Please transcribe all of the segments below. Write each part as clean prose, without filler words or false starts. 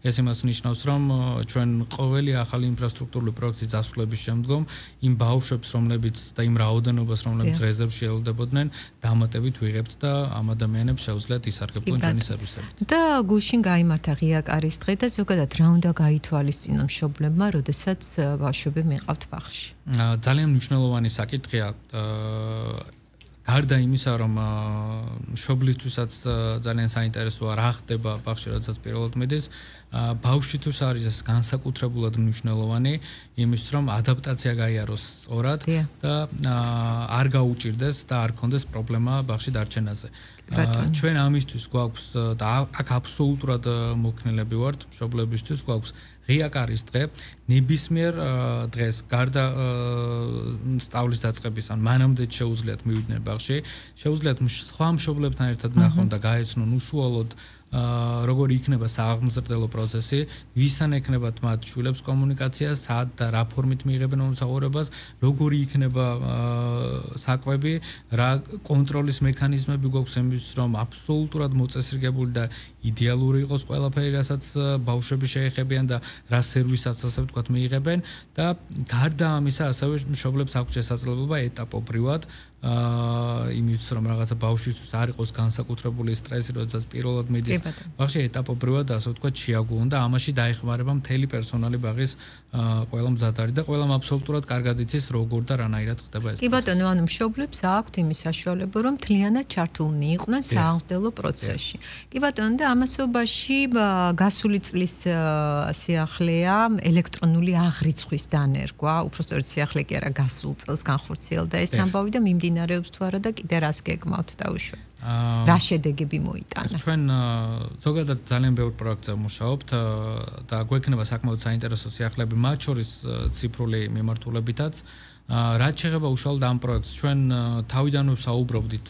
ეს იმას ნიშნავს, რომ ჩვენ ყოველი ახალი ინფრასტრუქტურული პროექტის დასრულების შემდგომ იმ ბავშვებს, რომლებიც და იმ რაოდენობას, რომლებიც რეზერვში ელოდებოდნენ, დამატებით ვიღებთ და ამ ადამიანებს შეუძლიათ ისარგებლონ ჩვენი სერვისებით. და გუშინ გაიმართა ღია კარის დღე და ზოგადად რა უნდა გაითვალისწინონ მშობლებმა, როდესაც ბავშვები მიყავთ ბაღში? ძალიან მნიშვნელოვანი საკითხია. გარდა იმისა, რომ მშობლისთვისაც ძალიან საინტერესოა რა ხდება ბაღში, როდესაც პირველად მიდის, ბავშვისთვის არის ეს განსაკუთრებულად მნიშვნელოვანი, იმისთვის, რომ ადაპტაცია გაიაროს სწორად და არ გაუჭირდეს და არ კონდეს პრობლემა ბაღში დარჩენაზე. ჩვენ ამისთვის გვაქვს და აქ აბსოლუტურად მოქნილები ვართ მშობლებისთვის, გვაქვს ღია კარის დღე, ნებისმიერ დღეს გარდა სწავლის დაწყების ან მანამდე შეუძლიათ მივიდნენ ბაღში, შეუძლიათ სხვა მშობლებთან ერთად ნახონ და გაეცნონ უშუალოდ როგორი იქნება სააღმზრდელო პროცესი, ვისთან ექნებათ მათ შვილებს კომუნიკაცია, სად და რა ფორმით მიიღებენ მომსახურებას, როგორი იქნება საკვები, რა კონტროლის მექანიზმები გვაქვს იმისთვის, რომ აბსოლუტურად მოწესრიგებული და იდეალური იყოს ყველაფერი, რასაც ბავშვები შეეხებიან და რა სერვისაც ასე ვთქვათ მიიღებენ და გარდა ამისა ასევე მშობლებს აქვს შესაძლებლობა ეტაპობრივად იმის რომ რაღაცა ბავშვისთვის არ იყოს განსაკუთრებული სტრესი, როდესაც პირველად მიდის ბაღში ეტაპობრივად ასე ვთქვათ შეაგუონ და ამაში დაეხმარება მთელი პერსონალი ბაღის ყველა მზადარი და ყველამ აბსოლუტურად კარგად იცის როგორ და რანაირად ხდება ეს. კი ბატონო, ანუ მშობლებს აქვთ იმის საშუალება, რომ მთლიანად ჩართულნი იყვნენ სააღმრთელო პროცესში. კი ბატონო, და ამასობაში გასული წლის სიახლეა ელექტრონული აღრიცხვის დანერგვა, უბრალოდ სიახლე კი არა, გასულ წელს განხორციელდა ეს ამბავი და მიმდინარეობს თუ არა და კიდე რას გეგმავთ დაუშვათ? რა შედეგები მოიტანა? ჩვენ ზოგადად ძალიან ბევრ პროექტზე ვმუშაობთ და გვექნება საკმაოდ საინტერესო სიახლეები, მათ შორის ციფრული მიმართულებითაც. რაც შეეხება უშუალოდ ამ პროექტს, ჩვენ თავიდანვე საუბრობდით,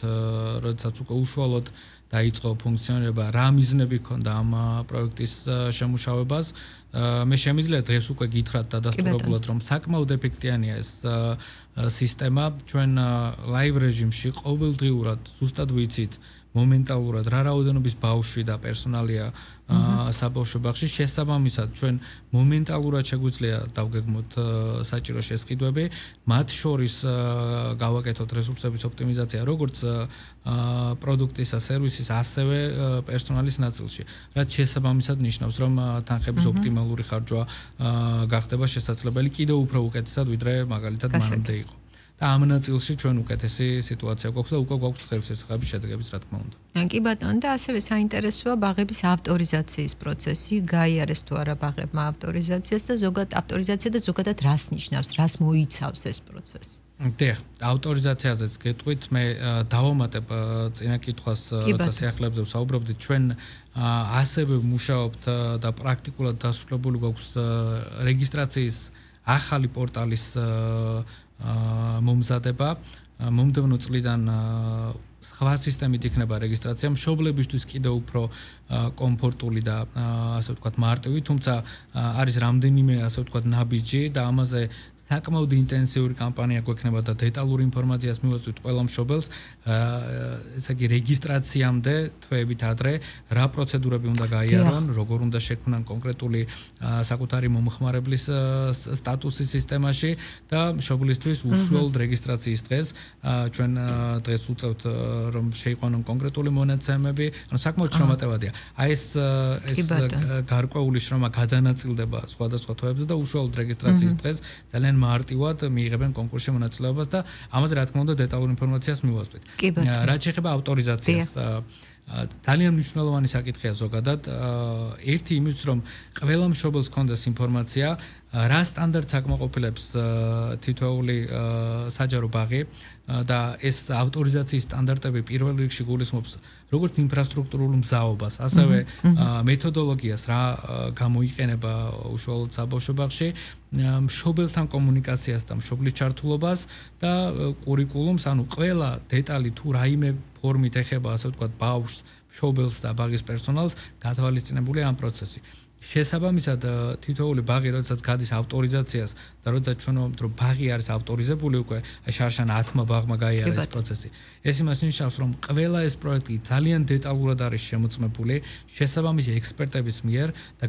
როდესაც უკვე უშუალოდ დაიწყო ფუნქციონირება, რა მიზნები ჰქონდა ამ პროექტის შემუშავებას. მე შემიძლია დღეს უკვე გითხრათ დადასტურებულად, რომ საკმაოდ ეფექტიანია ეს სისტემა. ჩვენ ლაივ რეჟიმში ყოველდღიურად ზუსტად ვიცით მომენტალურად რა რაოდენობის ბავშვი და პერსონალია საბავშვო ბაღში, შესაბამისად ჩვენ მომენტალურად შეგვიძლია დავგეგმოთ საჭირო შესყიდვები, მათ შორის გავაკეთოთ რესურსების ოპტიმიზაცია, როგორც პროდუქტისა, სერვისის, ასევე პერსონალის ნაწილში. რაც შესაბამისად ნიშნავს, რომ თანხების ოპტიმალური ხარჯვა გახდება შესაძლებელი კიდევ უფრო უკეთესად, ვიდრე მაგალითად მანამდე იყო. და ამ ნაწილში ჩვენ უკეთესი სიტუაცია გვაქვს და უკვე გვაქვს ხელშესახების შედეგებიც, რა თქმა უნდა. კი ბატონო, და ასევე საინტერესოა ბაღების ავტორიზაციის პროცესი, გაიარეს თუ არა ბაღებმა ავტორიზაციას და ავტორიზაცია და ზოგადად რას ნიშნავს, რას მოიცავს ეს პროცესი? დიახ, ავტორიზაციაზეც გეტყვით, მე დავამატებ წინა კითხვას, როცა სიახლეებზე ვსაუბრობდით, ჩვენ ასევე ვმუშაობთ და პრაქტიკულად დასრულებული გვაქვს რეგისტრაციის ახალი პორტალის მომზადება. მომდევნო წლიდან სხვა სისტემით იქნება რეგისტრაცია, მშობლებისთვის კიდევ უფრო კომფორტული და ასე ვთქვათ მარტივი, თუმცა არის რამდენიმე ასე ვთქვათ ნაბიჯი და ამაზე საკმაოდ ინტენსიური კამპანია გვექნება და დეტალური ინფორმაციას მივაწვით ყველა მშობელს, ესე იგი რეგისტრაციამდე თვეებით ადრე რა პროცედურები უნდა გაიარონ, როგორ უნდა შექმნან კონკრეტული საკუთარი მომხმარებლის სტატუსი სისტემაში და მშობლისთვის უშუალოდ რეგისტრაციის დღეს ჩვენ დღეს უწევთ რომ შეიყვანონ კონკრეტული მონაცემები, ანუ საკმაოდ შრომატევადია. აი ეს გარკვეული შრომა გადანაწილდება სხვადასხვა თვეებზე და უშუალოდ რეგისტრაციის დღეს ძალიან მარტივად მიიღებენ კონკურსში მონაწილეობას და ამაზე რა თქმა უნდა დეტალურ ინფორმაციას მივაწვით. რაც შეეხება ავტორიზაციას, ძალიან მნიშვნელოვანი საკითხია ზოგადად. ერთი იმის რომ ყველა მშობელს ჰქონდეს ინფორმაცია, რა სტანდარტს აკმაყოფილებს თითოეული საჯარო ბაღი და ეს ავტორიზაციის სტანდარტები პირველ რიგში გულისხმობს როგორც ინფრასტრუქტურულ მზაობას, ასევე მეთოდოლოგიას, რა გამოიყენება უშუალოდ საბავშვო ბაღში, მშობელთან კომუნიკაციას და მშობლის ჩართულობას და კურიკულუმს, ანუ ყველა დეტალი თუ რაიმე ფორმით ეხება, ასე ვთქვათ, ბავშვს, მშობელს და ბაღის პერსონალს, გათვალისწინებულია ამ პროცესი. შესაბამისად თითოეული ბაღი როდესაც გადის ავტორიზაციას და როდესაც ჩვენ ვამბობთ რომ ბაღი არის ავტორიზებული უკვე შარშან 10 ბაღმა გაიარა ეს პროცესი. ეს იმას ნიშნავს რომ ყველა ეს პროექტი ძალიან დეტალურად არის შემოწმებული შესაბამისი ექსპერტების მიერ და